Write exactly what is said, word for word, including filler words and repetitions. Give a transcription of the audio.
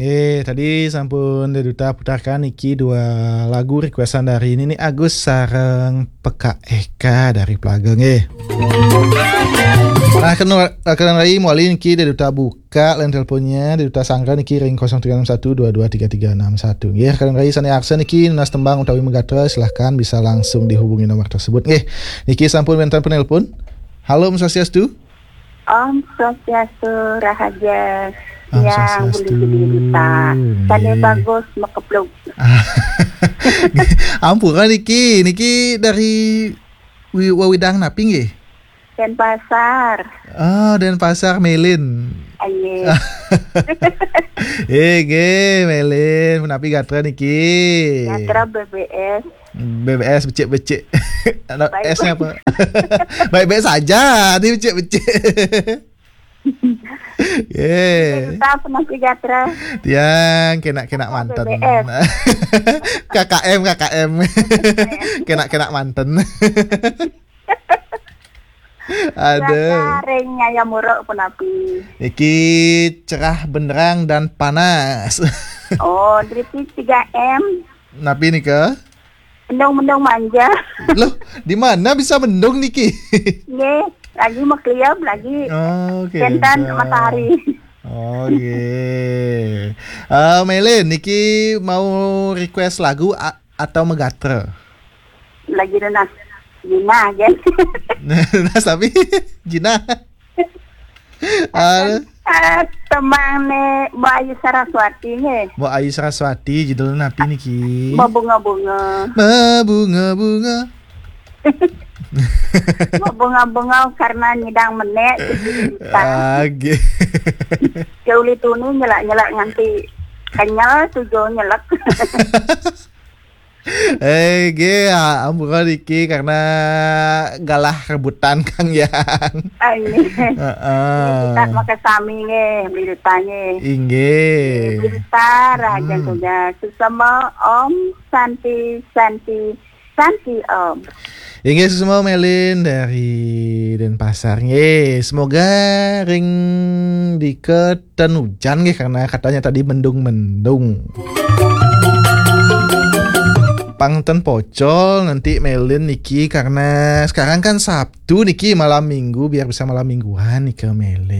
Eh, tadi sampun Dé Duta putarkan niki dua lagu requestan dari Nini Agus sareng Pekak Eka dari Plaga nggih. Nah, kena, kena rai mawali niki Dé Duta buka line teleponnya, Dé Duta sanggra niki ring kosong tiga enam satu dua dua tiga tiga enam satu. Nggih, kena rai sané arsa niki nunas tembang utawi magatra, silahkan bisa langsung dihubungi nomor tersebut. Nggih, niki sampun wénten penelpon. Halo, Om Swastiastu. Om Swastiastu, Rahaja. Om Yang Swastiastu. Beli-beli duta. Sané Nggih. Bagus, makepluk. Ampura niki, niki dari wi-, wewidang napi nggih? Denpasar. Ah, Denpasar, Melin. Aye. Eh, nggih, Melin, punapi gatra niki? Gatra B B S. B B S becik-becik. Ada Baik. S-nya apa? Baik-baik saja, ini becik-becik. Nggih. Tetap punapi gatra. Tiang kenak-kenak manten. B B S. K K M, K K M. Kenak-kenak manten. Ada. Cuaca ring Nyaya Muruk punapi? Niki cerah benderang dan panas. Oh, dari tiga M. Napi nika? Mendung-mendung manja. Loh, di mana bisa mendung niki? Nggih, lagi makliam, lagi Oh, kénten kénten. Matahari. Oh, nggih. Eh, Melin, niki mau request lagu a-, atau magatra? Lagi nunas jinah, kan? Nunas tapi jinah. Ah, Ah, tembang né Mbok Ayu Saraswati nggih. Mbok Ayu Saraswati, judulnya napi niki? Mabunga-bunga. Mabunga-bunga. Mabunga-bunga karena nyidang menék. Ah, nggih. Uli tuni nyelak-nyelak nganti kenyel tujuh nyelek. Eh, nggih, ah, ampura niki karena galah rebutan Kang Yang. Ah, nggih. Heeh. Kita makan sami nggih, beli duta nggih. Inggih. Beli duta, Raja Hmm. Tugas. Sesama Om Santi, Santi, Santi Om. Inggih, sesama Melin dari Denpasar. Nggih, semoga ring diketen hujan nggih, karena katanya tadi mendung-mendung. Pang ten pocol nanti Melin niki, karena sekarang kan Sabtu niki, malam minggu, biar bisa malam mingguan nika Melin.